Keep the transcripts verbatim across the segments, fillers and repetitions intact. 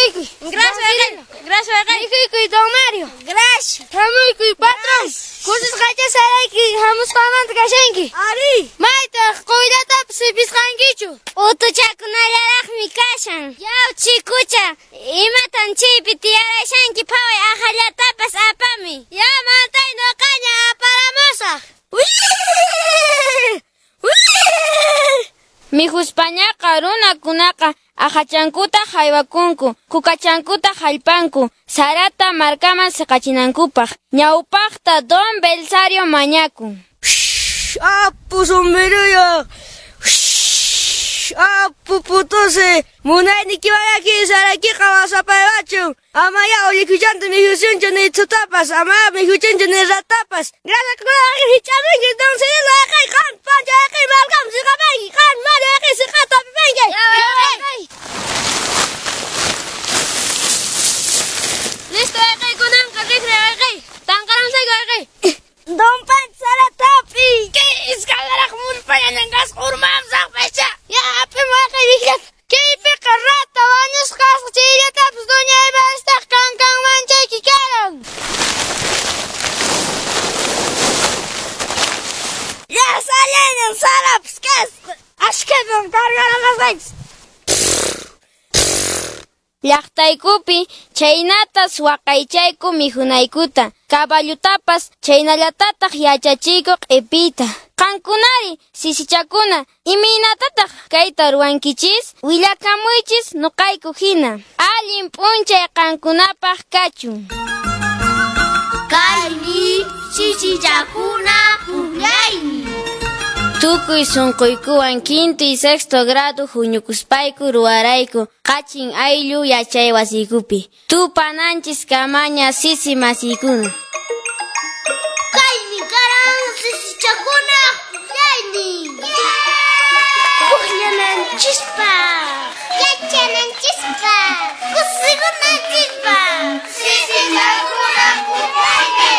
Mikuykuy. Gracias, wayqey. Gracias, wayqey. Mikuykuy, don Mario. Gracias. Hamuykuy, patrón. Kusisqacha sarayki hamusqanmanta kashanki. Ari. Maytaq qoylatapas sipisqankichu. Utuchakunallaraqmi kashan. Yaw chikucha, imatan chaypi tiyarashanki phaway aqhallatapas apami. Ya mantay noqaña aparamusaq. Mikhuspañaqa runakunaqa aqhachankuta haywakunku, kukachankuta hallpanku, sarata markaman siqachinankupaq. Ñawpaqta don Belsario mañakun. Apu sombrero. Apu putose. Munaynikiwanaki sarakiqa wasapaywachu. Amaya ulikuchanta mikhusunchu ni tutapas, amaya mikhuchunchu ni ratapas. Gracias kunaki hichamunki don Cirilo wayqey qan Pancho wayqey markaman siqapanki qan Mario wayqey siqata apapanki. Listo wayqey kunanqa rikray wayqey. Tanqaramusayku wayqey. Don Pancho sarata apiy. Kay iskalaraq murpayanan kasqa urmamsaqpacha. Ya apimu wayqey vikllata. Kaypiqa rata wañusqasqa chayllatapas doña Evaristaq kankanman chayki karan. Ya salenen sarapas kasqa. Ashkadan cargaramasqanchis. Llaqtaykupi chhaynatas waqaychayku mikhunaykuta, caballutapas chhaynallatataq yachachiyku q'ipiyta. Qankunari sisichakuna, imaynatataq kayta ruwankichis? Willakamuychis nuqayku hina. Allin p'unchay qankunapaq kachun. Kaymi sisichakuna pukllaymi. Tukuy sunquykuwan quinto y sexto grado huñukuspayku ruwarayku qachin ayllu yachay wasiykupi. Tupananchis kamaña sisi masiykuna. Kaymi karan sisichakuna pukllaymi. Pukllananchispaq, yachananchispaq, kusikunanchispaq. Sisichakuna pukllaymi.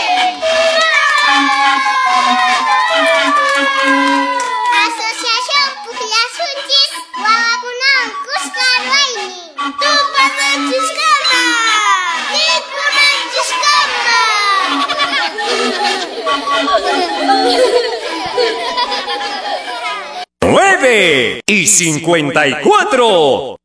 Asociación Pukllasunchis wawakunawan kuska ruwaymi. Tupananchiskama, mikhunanchiskama. Nueve y cincuenta y cuatro.